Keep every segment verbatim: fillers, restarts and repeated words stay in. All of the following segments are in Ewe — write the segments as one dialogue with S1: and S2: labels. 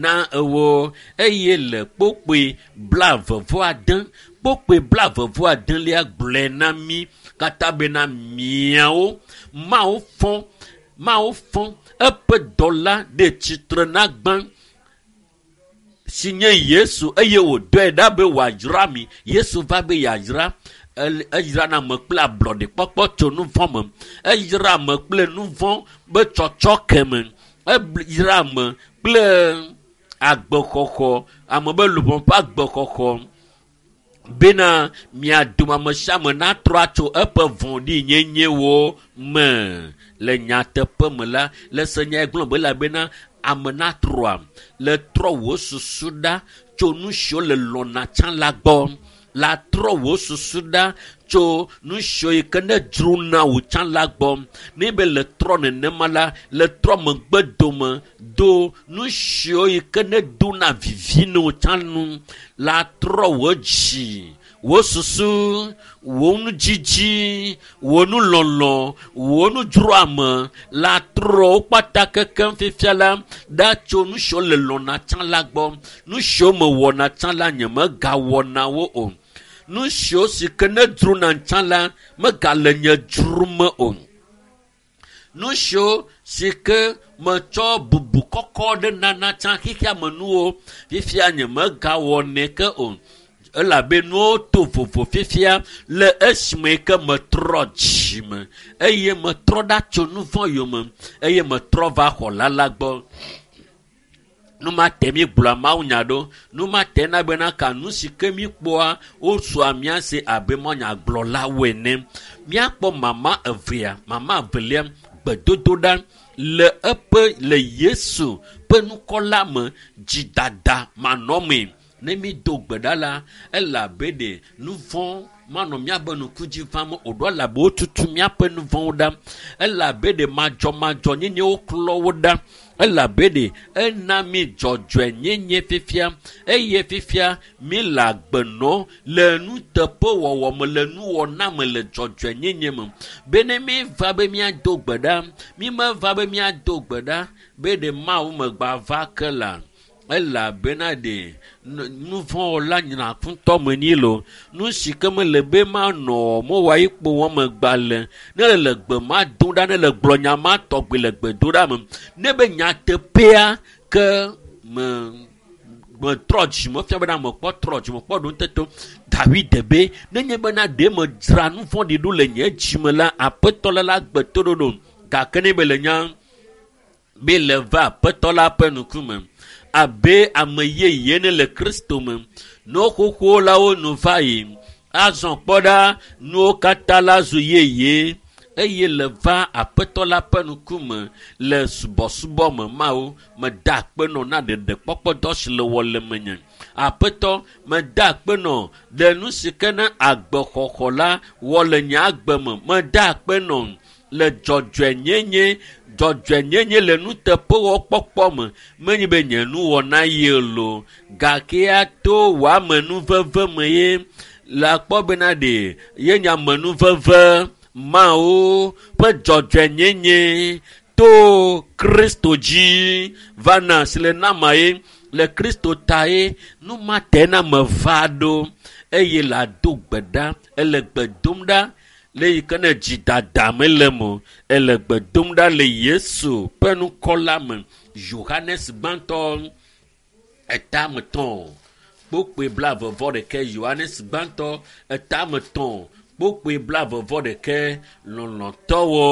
S1: Na ewo eye le kpokpoe blaeve vɔ ade kpokpoe blaeve vɔ adelia gblɔe na mí katã bena miawo Mawu fɔ Mawu fɔ eƒe dɔla ɖe tsitre na gbã si nye Yesu eye wòdɔe ɖa be wòadzra mi. Yesu va be yeadzra eyra ame kple ablɔɖekpɔkpɔ tso nu vɔ̃ me. Eyra ame kple nu vɔ̃ be tsɔtsɔke me. Eyra ame kple agbexɔxɔ ame be luʋɔ ƒe agbexɔxɔ bena mia dome ame sia ame natrɔ atso eƒe vɔ̃ɖinyenyewo me le nyateƒe me la le se nya gblɔ be elabena ame natrɔa le trɔ wò susu ɖa tso nu siwo le lɔna tsã la gbɔ la trɔ wò susu ɖa tso nu siwo yi ke ne dzrona wò tsã la gbɔ ne be le trɔ nenema la le trɔ megbe dome do nu siwo yi ke ne dona vivi ne wò tsã nu la trɔ wò dzi wò susu wò nudzidzi wò nulɔlɔ wò nudzroame la trɔ wo kpata kekem fifia la ɖa tso nu siwo le lɔna tsã la gbɔ nu siwo mewɔna tsã la nye megawɔna wo o nu siwo si ke ne dzrona tsã la megale nye dzrome o nu siwo si ke metsɔ bubu kɔkɔ ɖe nana tsã xexea me nuwo fifia nye megawɔnɛ ke o elabe nuwo to vovo fifia le esime ke metrɔ dzime eye metrɔ ɖa tso nu vɔ̃ yome eye metrɔ va xɔla la gbɔ nu ma te mi gblɔa mawunya ɖo nu ma te na bena ka nu si ke mi kpɔa wosua mía si abe mɔnyagblɔlawo ene míakpɔ mama evea mama evelia gbedodoɖa le eƒe le Yesu ƒe nukɔla me dzidada manɔmee ne mi do gbe ɖa la elabe ɖe nu vɔ̃ manɔ míabe ŋku dzi vam o ɖo elabe wotutu míaƒe nu vɔ̃wo ɖa elabe ɖe madzɔmadzɔnyenyewo klɔ wo ɖa elabe ɖe ena mi dzɔdzɔenyenye fifia eye fifia mi le agbe nɔ le nuteƒewɔwɔ me le nuwɔna me le dzɔdzɔenyenye me be ne mi va be míado gbe ɖa mi meva be míado gbe ɖa be ɖe Mawu megba va ke la elabena ɖe nu vɔ̃wɔla nyina ŋutɔ me nyi lo nu si ke mele be manɔ mewɔ yi kpo wɔm megba le ne le gbe ma dom ɖa ne le gblɔ nya ma tɔgbi le gbedoɖa me ne be nyateƒea ke me metrɔ dzime fia bena mekpɔ trɔ dzime kpɔ ɖo ŋuteto David be nenye bena ɖe medzra nu vɔ̃ɖi ɖo le nye dzime la aƒetɔ la la gbe toɖoɖo gake ne be le nya be le va aƒetɔ la ƒe ŋkume abe ame yeye ne le Kristo me nuwo xoxo la wo nu va yi azɔ kpɔ ɖa nuwo katã la zu yeye eye le va aƒetɔ la ƒe ŋkume le subɔsubɔ me Mawu meda akpe nɔ na ɖeɖekpɔkpɔdɔ si le wɔ le menye aƒetɔ meda akpe nɔ ɖe nu si ke ne agbexɔxɔ la wɔ le nye agbe me meda akpe nɔ le dzɔdzɔenyenye dzɔdzɔenyenye le nuteƒewɔkpɔkpɔ me menye be nye nuwɔna ye lo gake ato wò amenuveve me ye le akpɔ bena ɖe ye nye amenuveve Mawu ƒe dzɔdzɔenyenye to Kristo dzi va na si le nama ye le Kristo ta ye nu ma te na me va ɖo eye le ado gbe ɖa ele gbe dom ɖa le yi ke ne dzidada mele me o ele gbe dom ɖa le Yesu ƒe ŋkɔ la me Yohanes gbãtɔ etame tɔ̃ kpokpoe blaeve vɔ ɖeke Yohanes gbãtɔ etame tɔ̃ kpokpoe blaeve vɔ ɖeke lɔlɔ̃tɔwo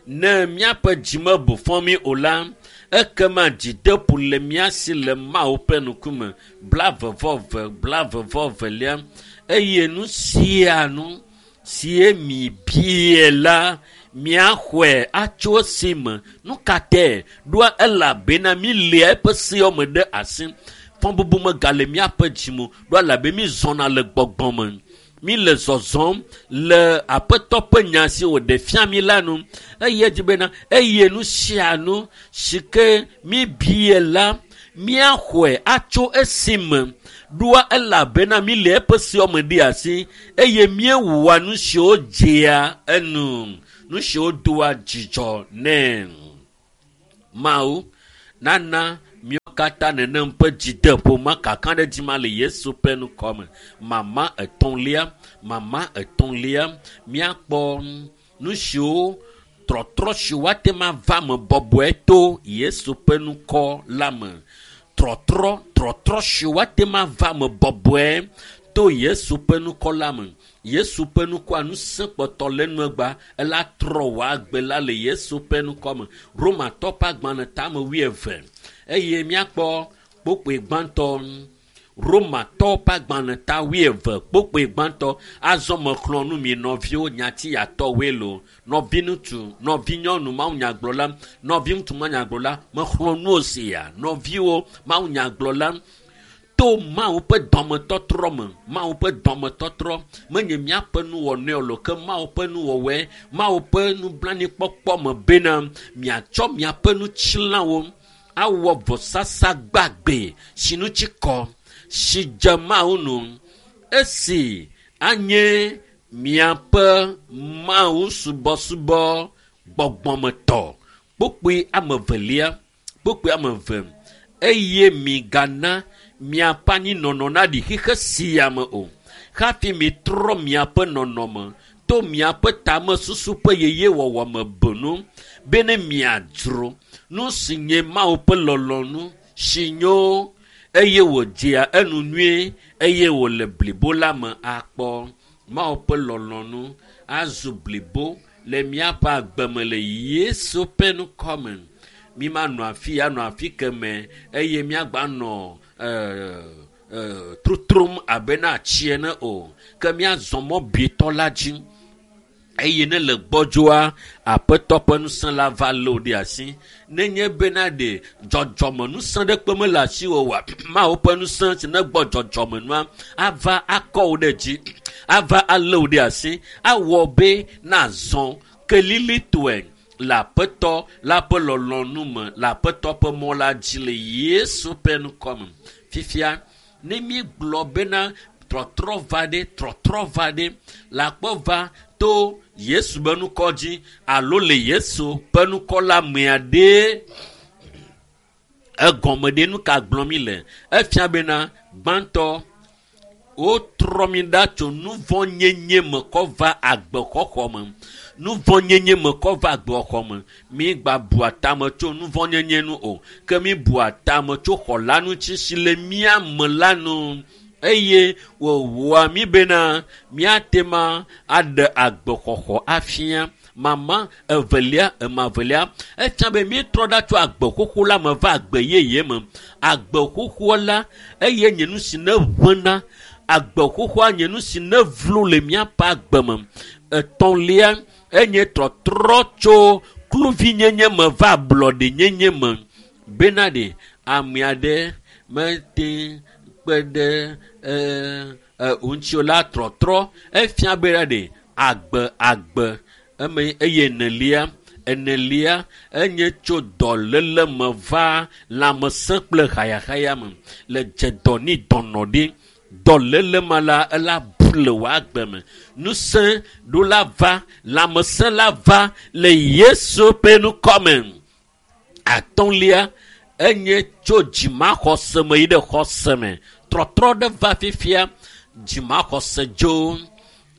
S1: ne míaƒe dzime bu fɔ mí o la ekema dzideƒo le mía si le Mawu ƒe ŋkume blaeve vɔ eve blaeve vɔ evelia eye nu sia nu sie mi bie la míaxɔe atso esi me nu ka tɛ ɖoa elabena mi lia eƒe seawo me ɖe asi fɔbubu megale míaƒe dzime ɖo elabe mi zɔna le gbɔgbɔ me mi le zɔzɔm le aƒetɔ ƒe nya si wòɖe fia mi la nu eye edzi bena eye nu sia nu si ke mi bie la míaxɔe atso esi me ɖoa elabena mi le eƒe seawo me ɖe asi eye míewɔa nu siwo dzea enu nu siwo doa dzidzɔ nɛ Mawu nana míawo katã nenem ƒe dzideƒo ma kaka ɖe dzi ma le Yesu ƒe ŋkɔ me. Mama etɔ̃lia, mama etɔ̃lia, míakpɔ nu siwo trɔtrɔ si woate ma va me bɔbɔe to Yesu ƒe ŋkɔ la me. Trɔtrɔ, trɔtrɔ si woate ma va me bɔbɔe to Yesu ƒe ŋkɔ la me. Yesu ƒe ŋkɔa ŋusẽ kpɔtɔ le nuegba ela trɔ wò agbe la le Yesu ƒe ŋkɔ me. Romatɔ ƒe agbalẽ tame wuieve eye míakpɔ kpokpoe gbãtɔ. Romatɔ ƒe agbalẽ ta wuieve kpokpoe gbãtɔ. Azɔ mexlɔ̃ nu mi nɔviwo nyati yatɔwoe lo. Nɔviŋutsu, nɔvinyɔnu mawunyagblɔla, nɔviŋutsu mawunyagblɔla, mexlɔ̃ nu sia nɔviwo mawunyagblɔla. To Mawu ƒe dɔmetɔtrɔ me, Mawu ƒe dɔmetɔtrɔ menye míaƒe nuwɔnɔe o, ke Mawu ƒe nuwɔwɔe, Mawu ƒe nublanuikpɔkpɔ me bena miatsɔ miaƒe nutsilãwo awɔ vɔsasa gbagbe si ŋuti kɔ, si dze Mawu nu, esi anye miaƒe Mawu subɔsubɔ gbɔgbɔmetɔ. Kpokpoe ame evelia, kpokpoe ame eve, eye migana miaƒe anyinɔnɔ naɖi xixe sia me o. Hafi mitrɔ miaƒe nɔnɔme to miaƒe tamesusu ƒe yeyewɔwɔ me benu bene miadzro nu si nye Mawu ƒe lɔlɔ̃nu si nyo eye wòdzea enu nyuie eye wòle blibo la me akpɔ. Mawu ƒe lɔlɔ̃nu azu blibo le miaƒe agbe me le Yesu ƒe ŋkɔ me. Mi manɔ afi ya nɔ afi keme eye miagba nɔ ɛɛ trotrom abe na atsi ene o, ke miazɔ mɔ bietɔ la dzi. Eye ne le gbɔdzɔa, aƒetɔ ƒe ŋusẽ la va lé wò ɖe asi. Nenye bena ɖe dzɔdzɔme ŋusẽ ɖe kpe mele asiwò oa, Mawu ƒe ŋusẽ si ne gbɔ dzɔdzɔme nua ava akɔ wò ɖe dzi, ava alé wò ɖe asi, awɔ be nazɔ kelilitɔe le aƒetɔ la ƒe lɔlɔ̃nu me, le aƒetɔ ƒe mɔ la dzi le Yesu ƒe ŋkɔ me. Fifia, ne míegblɔ bena trɔtrɔ va ɖe, trɔtrɔ va ɖe, le akpɔ va to Yesu ƒe ŋkɔ dzi alo le Yesu ƒe ŋkɔ la mea ɖe, egɔme ɖe nu ka gblɔm mi le? Efia bena gbãtɔ, wotrɔ mi ɖa tso nuvɔ̃nyenye me kɔ va agbexɔxɔ me. Nuvɔ̃nyenye me kɔ va agbexɔxɔ me. Mi gba bua tame tso nuvɔ̃nyenye nu o, ke mi bua tame tso xɔla ŋuti si le mía me la nu. Eye wòwɔa mi bena míate ma aɖe agbexɔxɔ afia. Mama evelia, ema evelia, efia be míetrɔ ɖa tso agbe xoxo la me va agbe yeye me. Agbe xoxoa la, eye nye nu si ne ʋẽna. Agbe xoxoa nye nu si ne vlo le míaƒe agbe me. Etɔ̃lia, enye trɔtrɔ tso kluvinyenye me va ablɔɖenyenye me. Bena ɖe ame aɖe mete kpe ɖe ɛɛ ŋuti o la trɔtrɔ. Efia bena ɖe agbe agbe eme eye enelia, enelia enye tso dɔléle me va lãmesẽ kple hayahaya me. Le dze dɔ ni dɔnɔ ɖi. Dɔléle ma la ela bu le wò agbe me. Ŋusẽ ɖo la va, lãmesẽ la va le Yesu ƒe ŋkɔ me. Atɔ̃lia, enye tso dzimaxɔse me yi ɖe xɔse me. Trɔtrɔ ɖe va fifia, dzimaxɔse dzo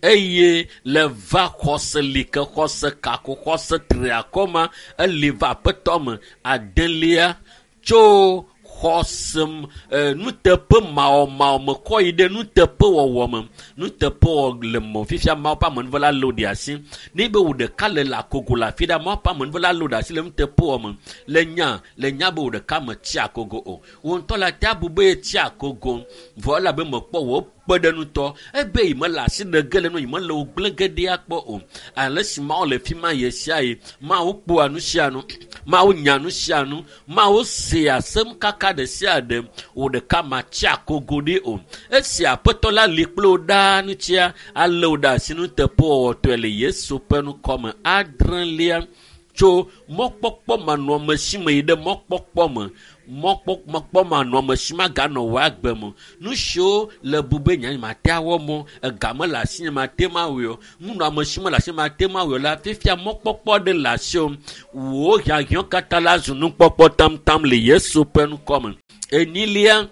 S1: eye le va xɔse li ke xɔse kako xɔse tri akɔ ma eli va aƒetɔ me. Adelia, tso xɔse m-, e, nuteƒe mawɔmawɔ me kɔ yi ɖe nuteƒewɔwɔ me. Nuteƒewɔwɔ le mɔ fifia Mawu ƒe amenuvela lé wò ɖe asi. Ne be wò ɖeka le le akogo le afi ɖa, Mawu ƒe amenuvela lé wò ɖe asi le nuteƒewɔwɔ me. Le nya, le nya be wò ɖeka metsi akogo o. Wò ŋutɔ le ate abu be yetsi akogo, vɔ elabe mekpɔ wò kpe ɖe ŋutɔ. Ebe yi mele asi ɖe ge le nu, yi mele wò gblẽ ge ɖe akpɔ o. Ale si Mawu le fi ma ɣe sia ɣi, Mawu kpɔa nu sia nu, Mawu nya nu sia nu, Mawu sea asem kaka ɖe sia ɖe. Wò ɖeka matsi akogo ɖi o. Esi aƒetɔ la li kple wò ɖaa ŋutia, alé wò ɖe asi nuteƒewɔwɔtɔe le Yesu ƒe ŋkɔ me. Adrelia, tso mɔkpɔkpɔ manɔamesi me yi ɖe mɔkpɔkpɔ me. Mɔkpɔkpɔ manɔamesi maganɔ wò agbe me. Nu siwo le bu be nya mate awɔ mɔ, ega mele asi nye mate ma wɔe o, nunɔamesi mele asi mate ma wɔe o la, fifia mɔkpɔkpɔ ɖe le asiwò. Wò hiahiã katã la zu nukpɔkpɔ tamtam le Yesu ƒe ŋkɔ me. Enyilia,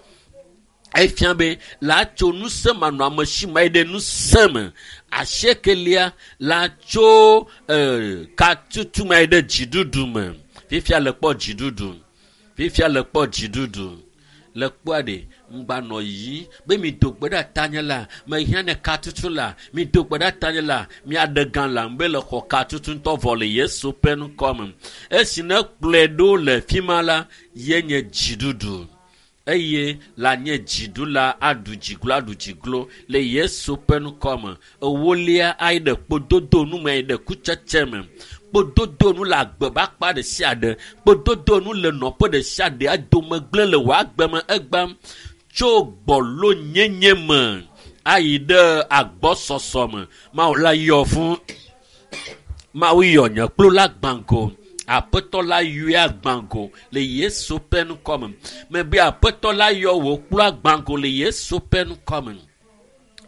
S1: efia be la tso ŋusẽ manɔamesi ma yi ɖe ŋusẽ me. Asiekelia la tso ee katutu ma yi ɖe dziɖuɖu me. Fifia le kpɔ dziɖuɖu. Fifia le kpɔ dziɖuɖu. Le kpɔa ɖe ŋgbanɔ yi be mi do gbe ɖe tanye la mehiã ne katutu la mi do gbe ɖe tanye la miaɖe gã la be le xɔ katutu ŋutɔ vɔ le Yesu ƒe ŋkɔ me. Esi ne kplɔe ɖo le fi ma la ye nye dziɖuɖu. Eye la nye dziɖula aɖu dziglo aɖu dziglo le Yesu ƒe ŋkɔ me. Ewolia ayi ɖe kpododo nu me ayi ɖe kutsetse me. Kpododo nu le agbe ƒe akpa ɖe sia ɖe. Kpododo nu le nɔƒe ɖe sia ɖe adome gblẽ le wò agbe me egbam. Tso gbɔlonyenye me ayi ɖe agbɔsɔsɔ me. Mawu la yɔ fũ. Mawu yɔ nye kplu la gbãgo. Aƒetɔ la yɔe agbãgo le Yesu ƒe ŋkɔ me. Mebe aƒetɔ la yɔ wò kplu agbãgo le Yesu ƒe ŋkɔ me.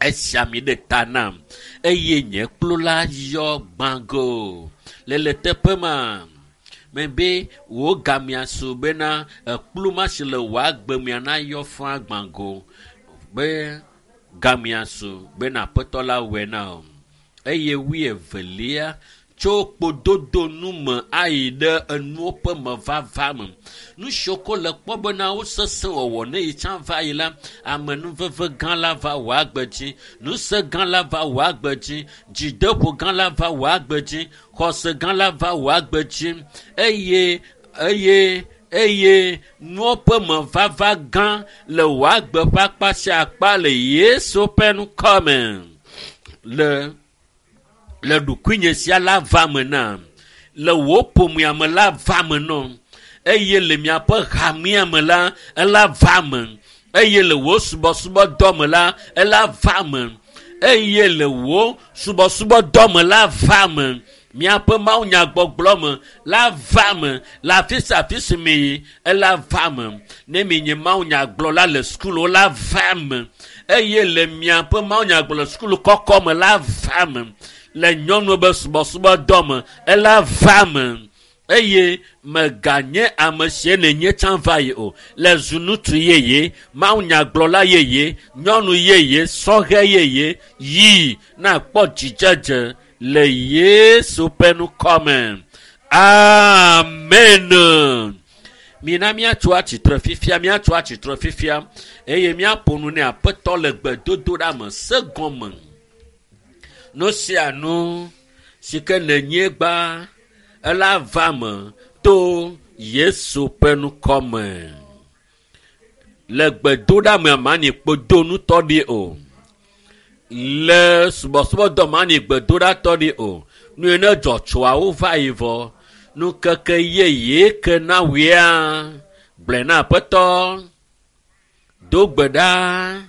S1: Esia mi ɖe ta nam eye nye kplu la yɔ gbãgo. Le le teƒe ma mebe wò gamea su bena ekplu ma si le wò agbe mea na yɔ fũ agbãgo be gamea su bena aƒetɔ la wɔe na wò. Eye wuievelia tso kpododo nu me ayi ɖe enuwo ƒe mevava me. Nu siwo ko le kpɔ bena wo sesẽ wɔwɔ ne yi tsã va yi la, amenuveve gã la va wò agbe dzi, ŋusẽ gã la va wò agbe dzi, dzideƒo gã la va wò agbe dzi, xɔse gã la va wò agbe dzi eye eye eye nuwo ƒe mevava gã le wò agbe ƒe akpa sia akpa le Yesu ƒe ŋkɔ me. Le le ɖokuinye sia la va me nam, le wò ƒomea me la va me nɔ, eye le miaƒe hamea me la ela va me, eye le wò subɔsubɔdɔ me la ela va me, eye le wò subɔsubɔdɔ me la va me, miaƒe mawunyagbɔgblɔ me la va me, le afi sia afi si mi yi ela va me. Ne mi nye mawunyagblɔla le sukulu la va me, eye le miaƒe mawunyagblɔ le sukulu kɔkɔ me la va me. Le nyɔnu be subɔsubɔdɔ me ela va me eye meganye ame sie nenye tsã va yi o. Le zu ŋutsu yeye, mawunyagblɔla yeye, nyɔnu yeye, sɔhɛ yeye yi nakpɔ dzidzedze le Yesu ƒe ŋkɔ me. Amen. Mina míatso atsitre fifia, míatso atsitre fifia eye míaƒo nu ne Aƒetɔ le gbedodoɖa me se gɔme. Nu sia nu si ke nenye gbã ela va me to Yesu ƒe ŋkɔ me. Le gbedoɖa me mani kpodonutɔ ɖi o. Le subɔsubɔdɔ mani gbedoɖatɔ ɖi o. Nu yi ne dzɔtsoawo va yi vɔ. Nukeke yeye ke na wòea gblɔe na Aƒetɔ. Do gbe ɖa.